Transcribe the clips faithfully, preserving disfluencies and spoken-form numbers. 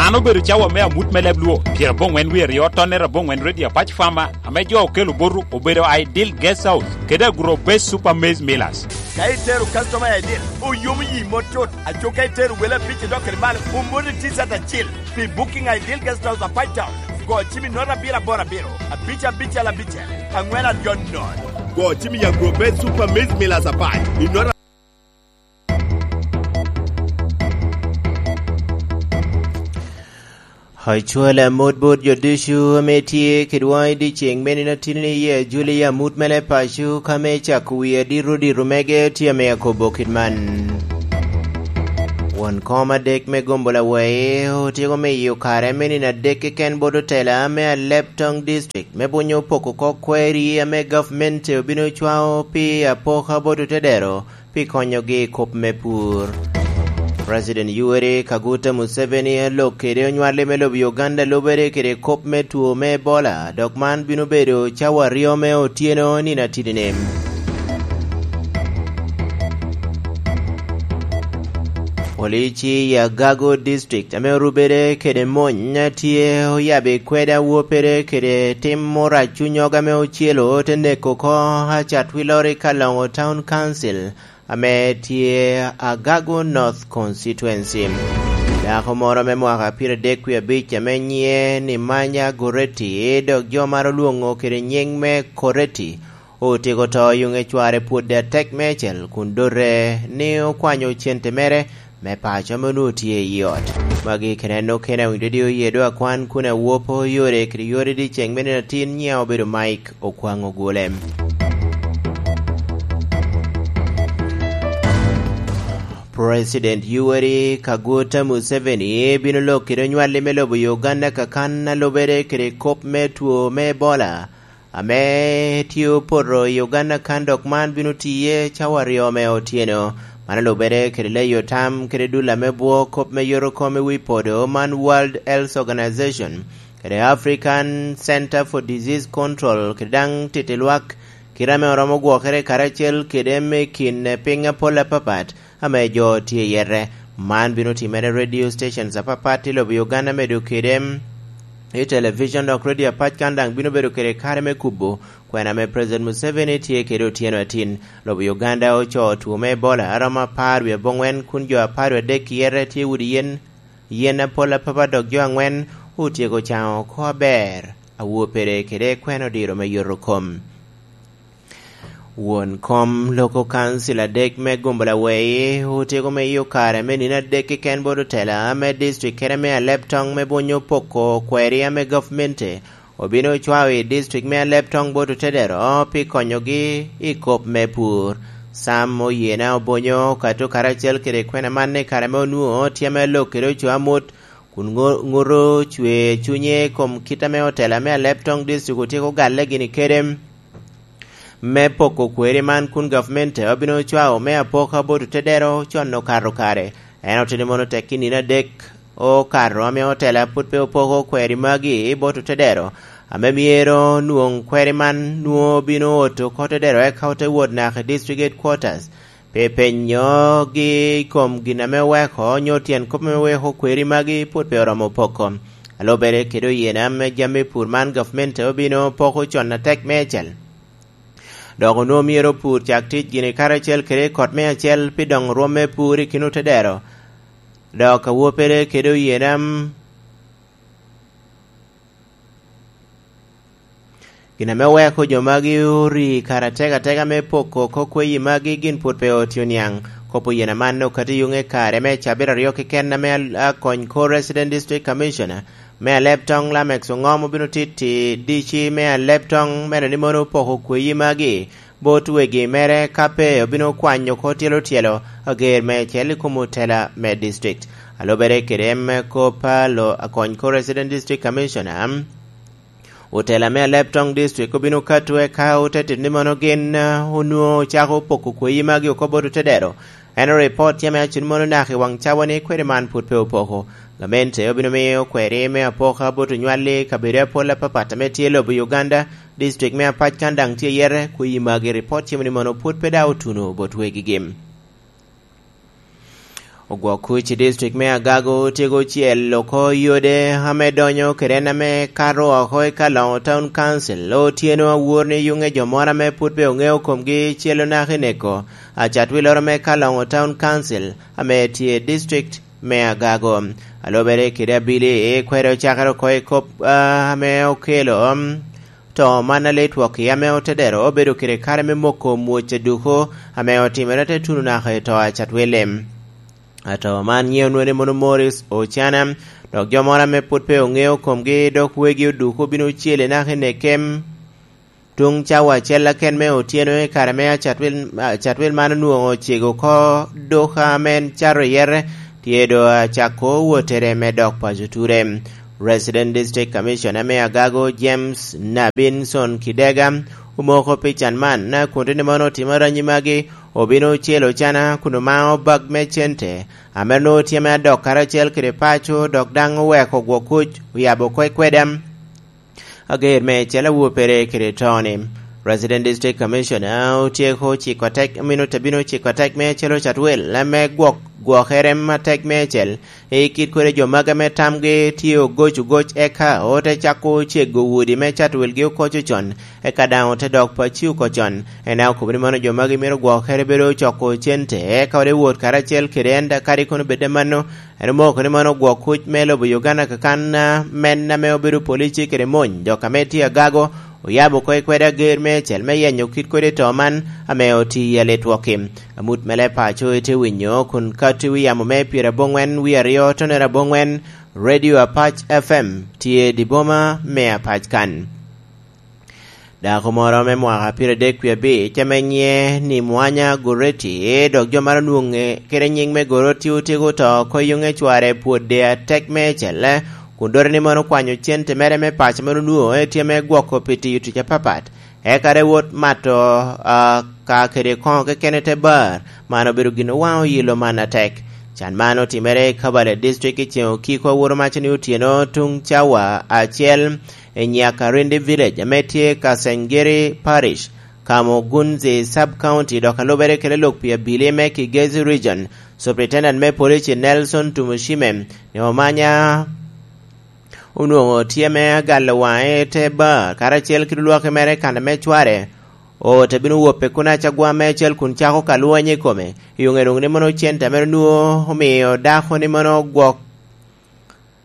An obedo cawa me amut me leb Luo, pyerabongwen wie aryo, tonnere abongwen, Radio Apac Farmer, ame jo okelo botu obedo Ideal Guest House kede Agro Base Super Maize Millers. Ka itero customer i Ideal, oyomo yi mot tut. Aco ka itero wele abic idok kede malo, omoni T-shirt acil. Pi booking Ideal Guest House Apac Town, go cim i nota abiro aboro abiro, abic abicel abicel, angwen aryo nono. Go cim i Agro Base Super Maize Millers Apac i nota. Acwala amot bot jo ducu ame tye kedwa i dyeceŋ me nino atini-ni, i ajuli amut mere paco, ka me cako wi adito dito mege tye ame akobo kit man. Won kom adek me gombo lawei otyeko miyo kare me nino adek keken bot otela me Alebtong District me bunyo poko oko kweri ame gavmente obino cwao pi apoka bot otedero pi konyogi i kop me pur. President Yoweri Kaguta Museveni alok kede onywali me lobo Uganda lubere kede kop me two me Ebola, dok man bino bedo cawa aryo me otyeno nino atidi-ni. Polici i Agago District ame orubere kede mony tye oyabo i kweda wopere kede tim orac cunyog ame ocelo te neko oko Acatwilori Kalongo Town Council ame tye Agago North Constituency. Dako moro me mwaka pyeradek wie abic ame nyiŋe ni Manya Goretti, dok jo maro lwoŋo kede nyiŋ me Koretti, otyeko to i yuŋe cware pwod atek meicel kun dote ni okwanyo cente mere me paco ame onwoŋo tye i ot. Magi kede en okene awinyo didi oye do akwan kun awopo yore kede yore dyeceŋ me nino atin nyiŋa obedo Mike Okwaŋ Ogule. President Yoweri Kaguta Museveni bino lok kede onywali me lobo Uganda kakan a lubere kede kop me two me Ebola ame tye opoto i Uganda kan, dok man bino tiye cawa aryo me otyeno. Man olubere kede leyo tam kede dul ame bwo kop me yot okom i wi podo man World Health Organization kede African Center for Disease Control kede daŋ titi lwak kite ame oromo gwokere karacel kede me kin piny apol apapat ame jo tye i yete. Man bino timere i radio stations apapat i lobo Uganda, medo kede i television dok radio apac kan daŋ bino bedo kede kare me kubo kwena ame President Museveni tye kede otyeno atin. Lobo Uganda ocoo two me Ebola aromo apar wie aboŋwen kun jo apar wie adek i yete tye wudi yen, yen apol apapat dok jo aŋwen otyeko caŋo oko aber awopere kede kwena odiro me yot okom. Won kom loko kancil adek me gombo lawei otyeko miyo kare me nino adek keken bot otela me district kede me Alebtong me bunyo poko kweri ame gavmente obino ocwao i district me Alebtong bot otedero pi konyogi i kop me pur. Sam Oyena Obonyo okato karacel kede kwena man i kare me onwoŋo tye ame lok kede oco amut kun ŋo-, ŋuto cwer cunye i kom kit ame otela me Alebtong district otyeko galle gini kede me poko kweri man kun gavmente obino cwao me apoka bot otedero con okato kare. En oteni mono tek i nino adek okato ame otela pwod pe opoko kweri magi bot otedero, ame myero nwoŋ kweri man nwoŋo bino oto oko otedero eka ote wot naka i district headquarters. Pi penyogi i kom gin ame oweko, onyo tyen kop ame weko kweri magi pwod pe oromo poko. Alubere kede Oyena ame jami pur man gavmente obino poko con atek meicel. Dok onwoŋo myero opur cak tic gini karacel kede kot me acel pi doŋo rwom me pur i kin otedero. Dok awopere kede Oyena m-, gin ame oweko jo magi ori kare atek ateka me poko oko kweyi magi gin pwod pe otio niaŋ. Kop Oyena man okati yuŋe kare me cabit aryo keken ame al-, akony ko Resident District Commissioner me Alebtong Lamex Oŋom obino titi D C me Alebtong me neno ni mono opoko kweyi magi bot wegi mere, ka pe obino kwanyo oko tyelo tyelo ager meicel i kom otela me district. Alubere kede me kop a lo akony ko Resident District Commissioner, otela me Alebtong District obino kato eka ote tito ni mono gin, eh, onwoŋo ocako poko kweyi magi oko bot otedero. En oripot tye me acen mono naka i waŋ cawa ni kweri man pwod pe opoko. Gamente obino miyo kweri me apoka bot onywali kabedo apol apapat ame tye i lobo Uganda, district me apac kan daŋ tye yete, kweyi magi ripot tye ni mono pwod pe daŋ otuno bot wegigi. Ogwok kuc i district me Agago otyeko cel oko yode ame donyo kede en ame kato oko i Kalongo Town Council. Otyeno awor ni yuŋe jo moro ame pwod pe oŋeo komgi celo naka i neko acatwiloro me Kalongo Town Council ame tye i district me Agago. Alobere kede abili, kwede ocakere oko i kop, ah, ame okelo, um, to man a lee twok i ame otedero obedo kede kare me moko mwoc aduko ame otimere te tuno naka i to acatwili. Ato man nyiŋe onwoŋo ni mono Morris Ocana, dok jo moro ame pwod pe oŋeo komgi, dok wegi oduko obino ocele naka i nekem tuŋ cawa acel aken me otyeno i kare me acatwil, acatwil man onwoŋo ocego oko duka ame en cato i yere, tye do acako wottere me dok paco ture. Resident District Commissioner me Agago, James Nabinson Kidega, omoko pi can man, kun tye ni mono otimo ranyi magi, obino ocel Ocana kun omao bag me cente ame nwoŋo tye me adok karacel kede paco, dok daŋ oweko gwok kuc oyabo oko i kweda ager me cel awobi pere kede toni. Resident District Commissioner otyeko ciko tek, omino te bino ciko tek me cel ocatwel ame gwok gwokere atek me cel i kit kodi jo magi ame tamgi tye ogoc ogoc, eka ote cako cego wodi me cato wilgi oko con, eka daŋ ote dok pacci oko con. En daŋ okobo ni mano jo magi myero gwokere bedo coko cente, eka ote wot karacel kede en, da kadi kono bed amanno, en omoko ni mano ogwok kuc me lobo Uganda kakan, ah, men ame obedo polici kede mony, dok ame tye agago, oyabo oko i kwede ager me cel me yenyo kit kodi to man ame oti i aletwok-ki. Amut me leb paco itye winyo kun kato i wi yamo me pyerabongwen wie aryo tonere abongwen, Radio Apac F M tye i dye boma me Apac kan. Dako moro me mwaka pyeradek wie abic ame nyiŋe ni Mwanya Goreti, dok jo maro nwoŋe kede nyiŋ me Goreti otyeko to oko i yuŋe cware pwod de atek me celle, kun dore ni mono okwanyo cente mere me paco mere onwoŋo tye me gwoko pi tiyo tic apapat. Eka te wot mato, ah, ka kede koŋo kekene te bar. Man obedo gin owaŋo yilo man atek. Can man otimere i Kabale District i ceŋ okiko aworo maco ni otyeno tuŋ cawa acel i Nyakarindi Village ame tye i Kasengiri Parish, Kamugunzi Sub County, dok alubere kede lok pi abili me Kigezi Region, Superintendent me Police Nelson Tumushime, ni Omanya onwoŋo tye me agalo waŋe te bar, karacel kede olwaki mere kan ame cware ote bino wop i kun acagwa me acel kun cako ka lwony i kome. I oŋe doŋ ni mono cente mere onwoŋo omio dako ni mono gwok,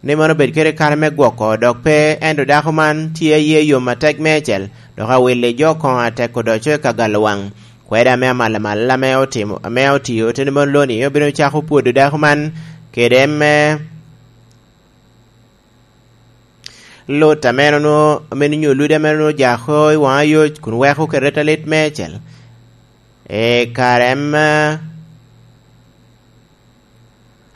ni mono obed kede kare me gwoko, dok pe ento dako man tye aye yom atek me acel, dok awilli jo koŋo atek odoco i ka galo waŋ. Kweda ame amalamal ame otimo, ame otio, te ni mono loni obino cako pwodo dako man kede me Lut ame en onwoŋo, ame nyo ludi ame en onwoŋo jako i waŋ ayoc kun weko kede talit meicel. E kare ma,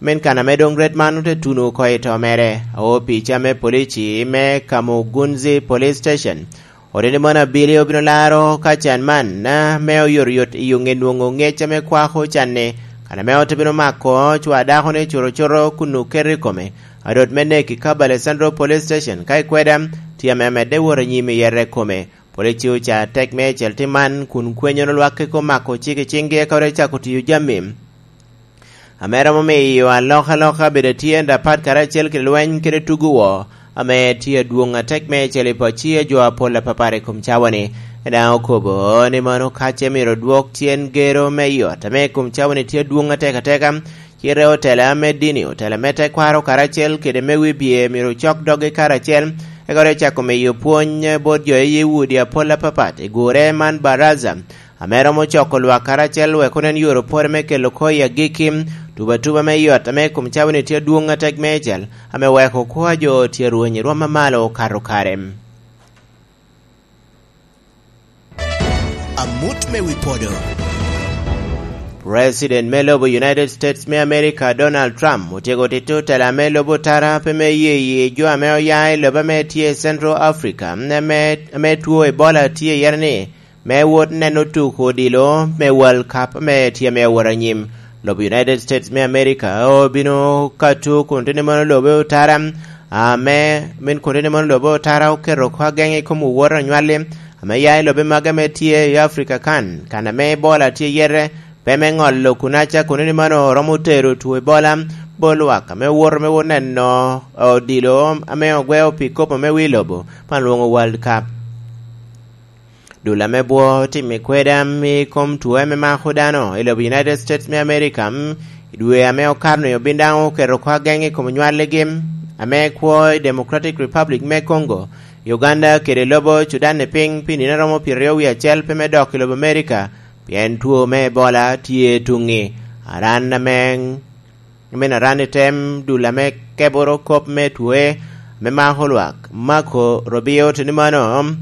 min kan ame doŋ ret man ote tuno oko i to mere, awo pica me polici me Kamugunzi Police Station. Odeni mono abili obino laro ka can man, na, me oyotoyot i oŋe nwoŋo ŋec ame kwako can-ni, kan ame ote bino mako cwa dako-ni cuto cuto kun oketo i kome. Adot me nek i Kabale Central Police Station ka ikweda tye ame amedde wot anyim i yere kome. Polici oca tek me cel tim man kun kwenyoro lwak keko mako cik i ciŋgi eka ote cako tiyo jami ame romo miyo alokaloka bedo atyen apat karacel kede lweny kede tugo woo ame tye adwoŋ atek me cel i pacci a jo apol apapar i kom cawa-ni. En daŋ okobo ni mano kace myero odwok tyen gero me yot ame i kom cawa-ni tye adwoŋ atek ateka, cite otela me dini, otela me tekwaro karacel kede me wibye myero ocok doggi karacel, eka ote cako miyo pwony bot jo i udi apol apapat i gure man baraza ame romo coko lwak karacel wek onen yore opore me kelo kwo i agikki. Tuba tuba me yot ame i kom cawa-ni tye adwoŋ atek meicel, ame weko kwo a jo tye rweny i rwom amalo okato kare. Amut me wi podo. President me lobo United States me America, Donald Trump, otyeko tito tela me lobo tara pe me ye ye jo ame oya i lobo ame tye i Central Africa, ame, ame two Ebola tye iye ni, me wot neno tuko odilo me World Cup ame tye me awot anyim. Lobo United States me America obino kato kun tye ni mono lobe otara, ame, min kun tye ni mono lobe otara oketo oko ageŋ i kom owot anywalli, ame ya i lobe magi ame tye i Africa kan, kan ame Ebola tye yete, Pe me ŋolo kunaca kono ni mano romo tero two Ebola bot lwak ame owoto me wot neno odilo ame ogweo pi kop ame wi lobo pan lwoŋo World Cup. Dul ame bwo otim i kweda i kom two ame mako dano i lobo United States me America, mm, i dwe ame okato-ni obin daŋ oketo oko ageŋ i kom nywalligi ame kwo i Democratic Republic me Congo, Uganda kede lobo Sudan i piny pi nino a romo pyeraryo wie acel pe me dok i lobo America, pien two me Ebola tye tuŋi. Aran ame, men aran i tem dul ame keboro kop me twoe ame mako lwak, Marco Rubio, tye ni mano,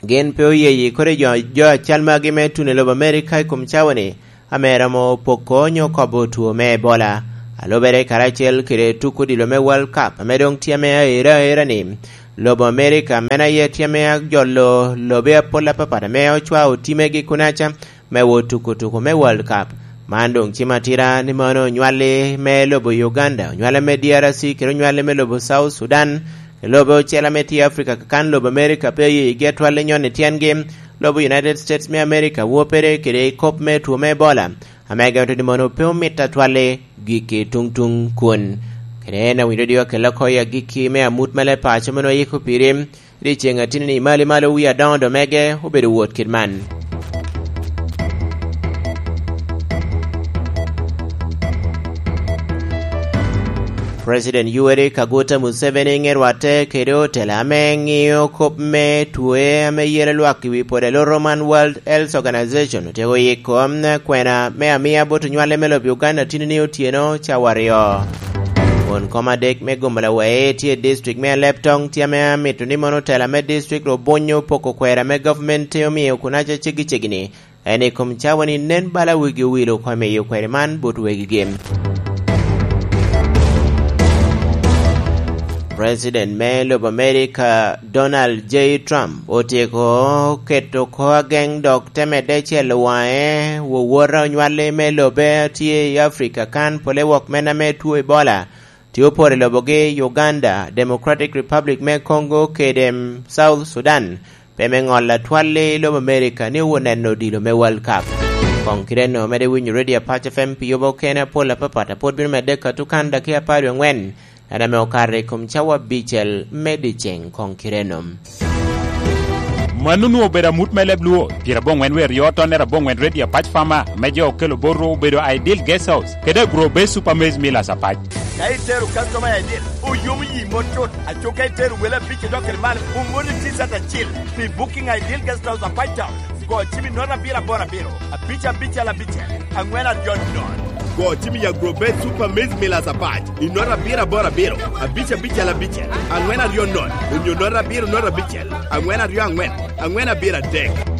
gin pe oye yi kodi jo, jo acal magi me tuno i lobo America i kom cawa-ni, ame romo poko onyo kobo two me Ebola. A lubere karacel kede tuk odilo me World Cup ame doŋ tye ame aera aera-ni, lobo America meno aye tye ame ajolo lobe apol apapat ame ocwao timegi kunaca me wot tuko tuko me World Cup. Man doŋ cimo atira ni mano onywalli me lobo Uganda, onywalli me D R C, kede onywalli me lobo South Sudan, lobe ocele ame tye i Africa kakan lobo America pe oye yigi atwal i nyon i tyengi, lobo United States me America wopere kede i kop me two me Ebola, ame gin ote ni mono pe omito atwal i gikki tuŋ tuŋ kun. Kede en awinyo dodiwa kela oko i agikki me amut me leb paco meno oyiko piri, i dyeceŋ atini ni malo malo wie adoŋo do mege obedo wot kit man. President Yoweri Kaguta Museveni ŋe rwatte kede otela ame ŋiyo kop me twoe ame yelo lwak i wi pwod aloto man World Health Organization otyeko yiko kwena me amiya bot onywale me lobo Uganda tini ni otyeno cawa aryo. Won kom adek me gomo lawee tye i district me Alebtong tye ame amito ni mono otela me district obunyo poko kwera me government te omio kunaca ceggi ceggi ni en i kom cawa ni nen bala wigi owilo oko i miyo kweri man bot wegigi. President me lobo America Donald J Trump otyeko keto oko ageŋ dok te medde celo waŋe wowota onywalli me lobe a tye i Africa kan pole wok men ame two Ebola tye oporo i lobogi Uganda, Democratic Republic me Congo kede South Sudan. Pe me ŋolo atwal i lobo America ni owot neno odilo me World Cup. Koŋ kite no mede winyo Radio Apac F M pi yobo okene apol apapat a pwod bino medde katukan dakika apar wie angwen, en ame okato i kom cawa abicel me dyeceŋ koŋ kite no. Mano onwoŋo obedo amut me leb Luo, pyerabongwen wie aryo tonnere abongwen Radio Apac Farmer, me jo okelo bot rwo obedo Ideal Guest House, kede Agro Base Super Maize Millers Apac. Ka itero customer I D, oyomo yi mot cut. Aco ka itero wele abic idok kede malo, omoni T-shirt acil. Pi booking Ideal Guest House Apac Town, go cim i nota abiro aboro abiro, abic abicel abicel, angwen aryo nono. Go cim i Agrobet Super Maize Millers Apac i nota abiro aboro abiro, abic abicel abicel, angwen aryo nono, onyo nota abiro nota abicel, angwen aryo angwen, angwen abiro adek.